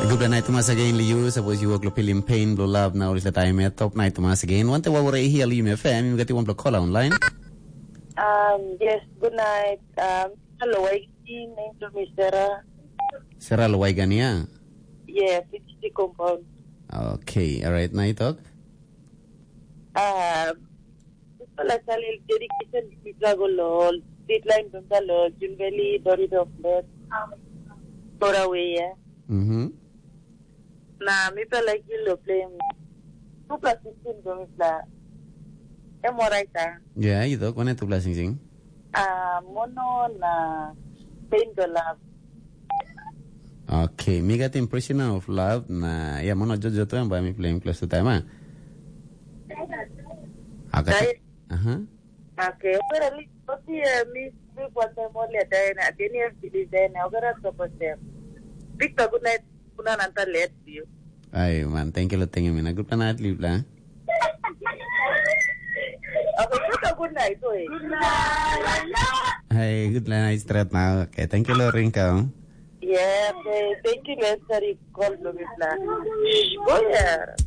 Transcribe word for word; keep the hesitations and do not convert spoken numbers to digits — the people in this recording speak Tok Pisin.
Gupla nait tumas again li yu, sapos yu wok lo pilim pain blo love na ol dispela taim ya, top nait tumas again. Wante wa wore hia li yu me fam, yu gati wan blo kola online. Um, yes, good night. Um, hello, I see name to me Sarah. Sarah lo waigania. Yes, it's the compound. Okay, alright, na itok. Um, Pala salil dedication mipela go lo street line bimta lo Junveli, Dorido Flat, Torawe ya. Mhm. Na mipela like lo playing two plus sixteen go mipela. Em alright ah. Ya, yu tok, wane two plus sixteen? Ah, mono na pain go love. Okay, mi gat impression of love na ya mono jojo tu em ba mi playing close to time ah. Agat. Dai. Aha. Okay, okera li oti eh, mi mi kwanta mo le dai na deni em bili dai na okera so ko sem. Big pa good night kuna nanta let you. Ai man, thank you lo thank you mina. Good night, live la. Okay, you a good night, oi. Hey, good night, straight now. Okay, thank you lo rinka. Yeah, okay, thank you, let's sorry, call lo mi pla. Go yeah.